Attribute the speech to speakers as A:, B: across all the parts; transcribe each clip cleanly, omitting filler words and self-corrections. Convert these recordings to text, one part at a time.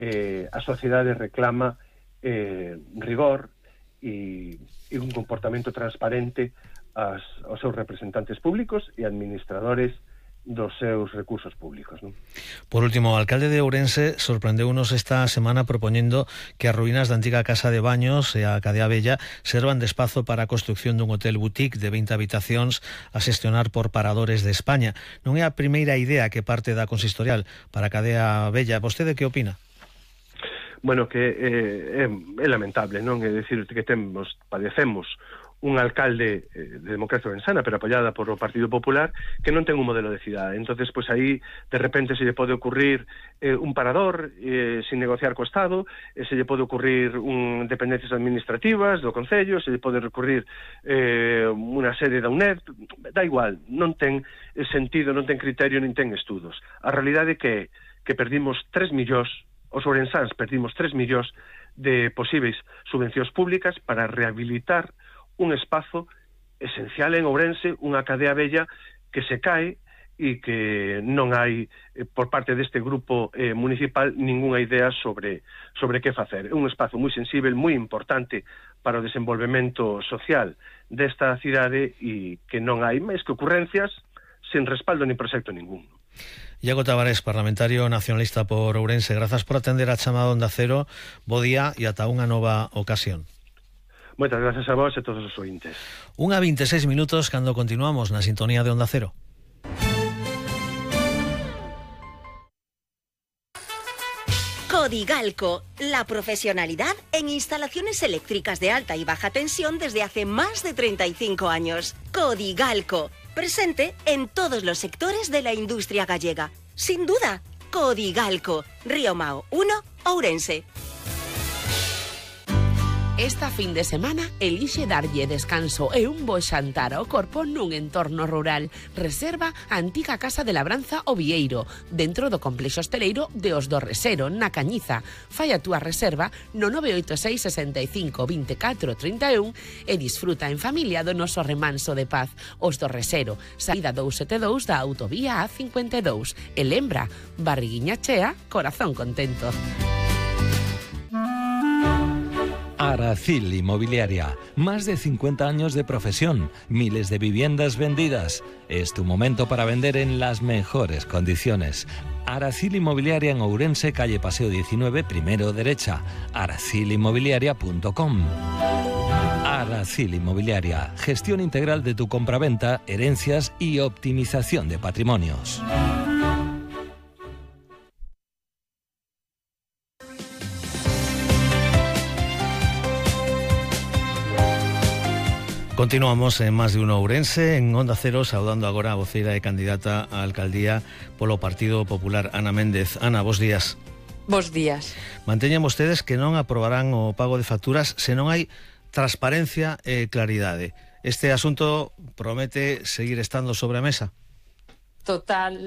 A: a sociedade reclama rigor e un comportamento transparente aos seus representantes públicos e administradores dos seus recursos públicos, non?
B: Por último, o alcalde de Ourense sorprendeunos esta semana propoñendo que as ruínas da antiga casa de baños e a cadea vella servan de espazo para a construción dun hotel boutique de 20 habitacións a xestionar por Paradores de España. Non é a primeira idea que parte da consistorial para a cadea vella. Vostede que opina?
A: Bueno, que é lamentable, non? É dicir, que padecemos un alcalde de democracia ourensana, pero apoiada por o Partido Popular, que non ten un modelo de cidade. Entonces, pois aí, de repente, se lle pode ocurrir un parador sin negociar co Estado, se lle pode ocurrir dependencias administrativas do Concello, se lle pode recurrir unha sede da UNED, da igual, non ten sentido, non ten criterio, nin ten estudos. A realidade é que perdimos 3 millóns, os ourensáns perdimos 3 millóns de posíveis subvencións públicas para rehabilitar un espazo esencial en Ourense, unha cadea vella que se cae e que non hai, por parte deste grupo municipal, ninguna idea sobre que facer. É un espazo moi sensible, moi importante para o desenvolvemento social desta cidade e que non hai máis que ocurrencias sen respaldo ni proxecto ningún.
B: Iago Tavares, parlamentario nacionalista por Ourense, grazas por atender a chamada Onda Cero. Bo día e ata unha nova ocasión.
A: Moitas gracias a vos e todos os ointes.
B: 1:26 minutos cando continuamos na sintonía de Onda Cero.
C: Codigalco, la profesionalidad en instalaciones eléctricas de alta y baja tensión desde hace más de 35 años. Codigalco, presente en todos los sectores de la industria gallega. Sin duda, Codigalco, Río Mao 1, Ourense.
D: Esta fin de semana elixe darlle descanso e un bo xantar ao corpo nun entorno rural. Reserva a antiga Casa de Labranza O Vieiro, dentro do complexo hosteleiro de Os do Resero, na Cañiza. Fai a túa reserva no 986 65 24 31 e disfruta en familia do noso remanso de paz. Os do Resero, saída 272 da autovía A52. E lembra, barriguiña chea, corazón contento.
E: Aracil Inmobiliaria, más de 50 años de profesión, miles de viviendas vendidas. Es tu momento para vender en las mejores condiciones. Aracil Inmobiliaria en Ourense, calle Paseo 19, primero derecha. aracilinmobiliaria.com. Aracil Inmobiliaria, gestión integral de tu compraventa, herencias y optimización de patrimonios.
B: Continuamos en Más de Uno Ourense, en Onda Cero, saudando agora a voceira e candidata á alcaldía polo Partido Popular, Ana Méndez. Ana, bos días.
F: Bos días.
B: Manteñen vostedes que non aprobarán o pago de facturas se non hai transparencia e claridade. Este asunto promete seguir estando sobre a mesa?
F: Total,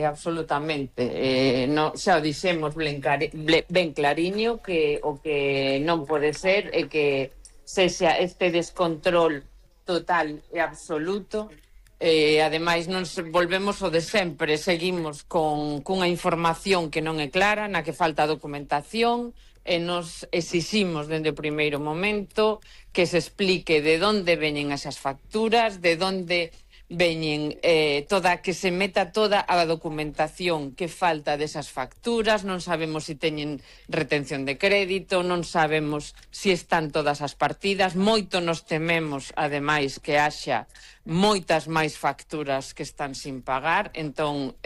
F: absolutamente. Xa o dixemos ben clariño que o que non pode ser é que sexa este descontrol total e absoluto. Ademais, non volvemos o de sempre, seguimos cunha información que non é clara, na que falta documentación, e nos exiximos dende o primeiro momento que se explique de onde veñen esas facturas, de onde veñen que se meta toda a documentación que falta desas facturas. Non sabemos se teñen retención de crédito, non sabemos se están todas as partidas. Moito nos tememos, ademais, que haxa moitas máis facturas que están sin pagar. Entón,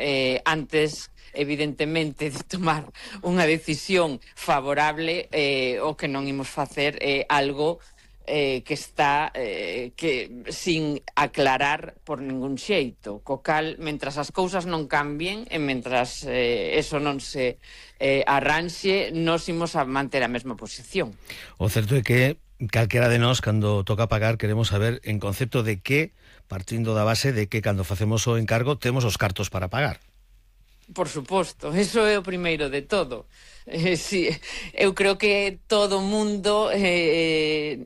F: antes, evidentemente, de tomar unha decisión favorable, o que non imos facer é algo que está sin aclarar por ningún xeito, co cal, mentras as cousas non cambien e mentras eso non se arranxe, nos imos a manter a mesma posición.
B: O certo é que calquera de nós, cando toca pagar, queremos saber en concepto de que, partindo da base de que cando facemos o encargo temos os cartos para pagar.
F: Por suposto, eso é o primeiro de todo. Sí, eu creo que todo o mundo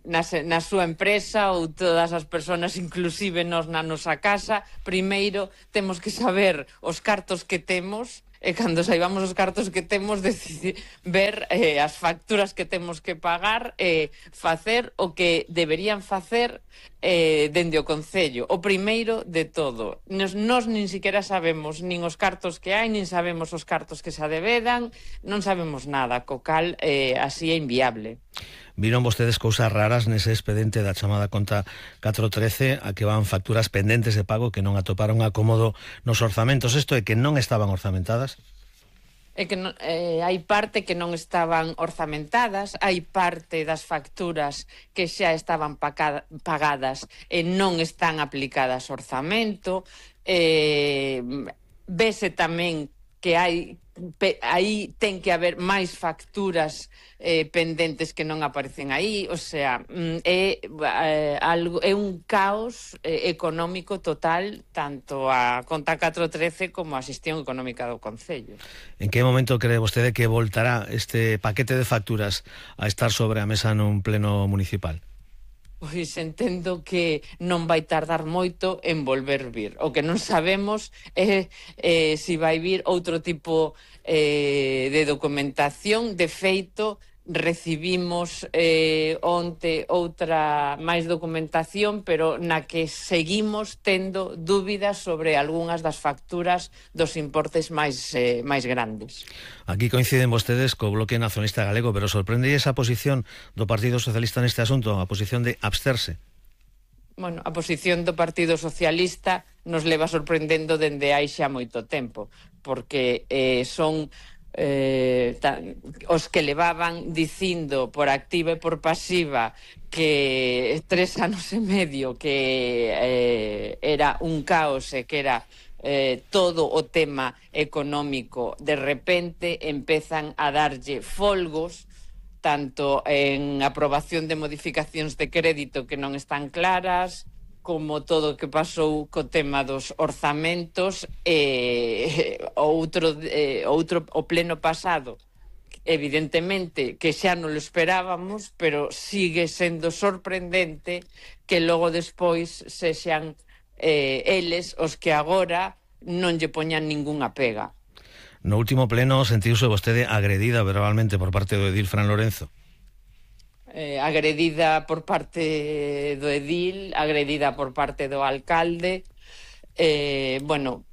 F: na súa empresa ou todas as persoas, inclusive nós na nosa casa, primeiro temos que saber os cartos que temos e cando saibamos os cartos que temos ver as facturas que temos que pagar e facer o que deberían facer dende o Concello. O primeiro de todo, nos nin siquiera sabemos nin os cartos que hai, nin sabemos os cartos que se adevedan, non sabemos nada, co cal así é inviable.
B: Viron vostedes cousas raras nese expediente da chamada conta 413 a que van facturas pendentes de pago que non atoparon acomodo nos orzamentos. Isto é que non estaban orzamentadas?
F: É que hai parte que non estaban orzamentadas, hai parte das facturas que xa estaban pagadas e non están aplicadas ao orzamento. Vese tamén que aí ten que haber máis facturas pendentes que non aparecen aí, o sea, é un caos económico total, tanto a conta 413 como a xestión económica do Concello.
B: En que momento cree vostede que voltará este paquete de facturas a estar sobre a mesa nun pleno municipal?
F: Pois entendo que non vai tardar moito en volver vir. O que non sabemos é se vai vir outro tipo de documentación. De feito, recibimos onte outra máis documentación, pero na que seguimos tendo dúbidas sobre algunhas das facturas dos importes máis grandes.
B: Aquí coinciden vostedes co Bloque Nacionalista Galego, pero sorprende esa posición do Partido Socialista neste asunto, a posición de absterse?
F: Bueno, a posición do Partido Socialista nos leva sorprendendo dende hai xa moito tempo, porque son os que levaban dicindo por activa e por pasiva que 3 anos e medio que era un caos e que era todo o tema económico, de repente empezan a darlle folgos tanto en aprobación de modificacións de crédito que non están claras, como todo o que pasou co tema dos orzamentos, o pleno pasado, evidentemente que xa non lo esperábamos, pero sigue sendo sorprendente que logo despois sexan eles os que agora non lle poñan ningunha pega.
B: No último pleno sentiuse vostede agredida verbalmente por parte do edil Fran Lorenzo?
F: Agredida por parte do edil, agredida por parte do alcalde. Bueno,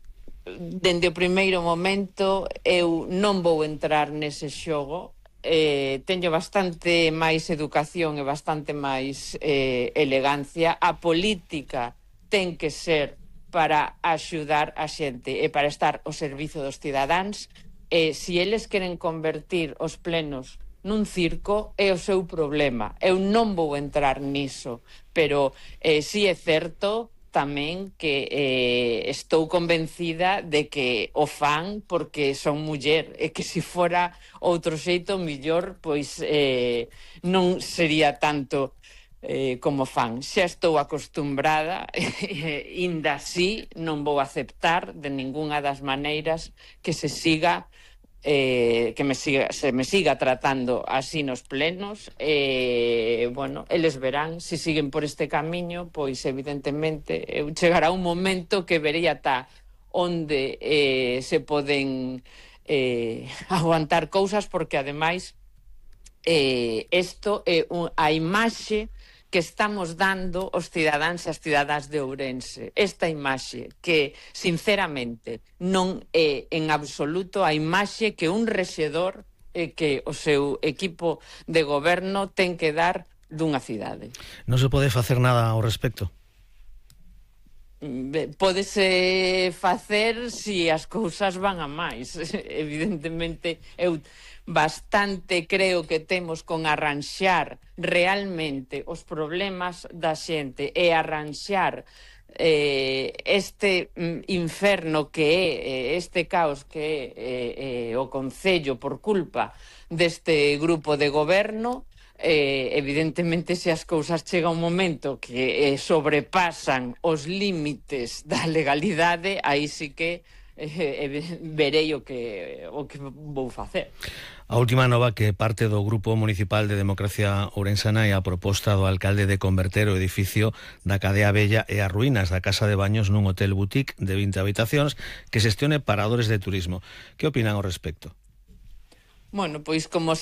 F: dende o primeiro momento eu non vou entrar nese xogo. Teño bastante máis educación e bastante máis elegancia. A política ten que ser para axudar a xente e para estar ao servizo dos cidadáns. Se eles queren convertir os plenos nun circo, é o seu problema. Eu non vou entrar niso, pero si é certo tamén que estou convencida de que o fan porque son muller, e que se fora outro xeito millor, pois non sería tanto como fan. Xa estou acostumbrada, inda así non vou aceptar de ningunha das maneiras que se me siga tratando así nos plenos. Bueno, eles verán, se siguen por este camiño, pois evidentemente chegará un momento que vería onde se poden aguantar cousas, porque ademais isto é a imaxe que estamos dando os cidadáns e as cidadáns de Ourense. Esta imaxe que, sinceramente, non é en absoluto a imaxe que un rexedor e que o seu equipo de goberno ten que dar dunha cidade.
B: Non se pode facer nada ao respecto?
F: Pódese facer se as cousas van a máis. Evidentemente, eu bastante creo que temos con arranxar realmente os problemas da xente e arranxar este inferno que é este caos que é o Concello por culpa deste grupo de goberno. Evidentemente, se as cousas chega un momento que sobrepasan os límites da legalidade, aí sí que verei o que vou facer.
B: A última nova que parte do Grupo Municipal de Democracia Ourensana é a proposta do alcalde de converter o edificio da Cadea Vella e as ruínas da Casa de Baños nun hotel boutique de 20 habitacións que xestione paradores de turismo. Que opinan ao respecto?
F: Bueno, pois como sempre,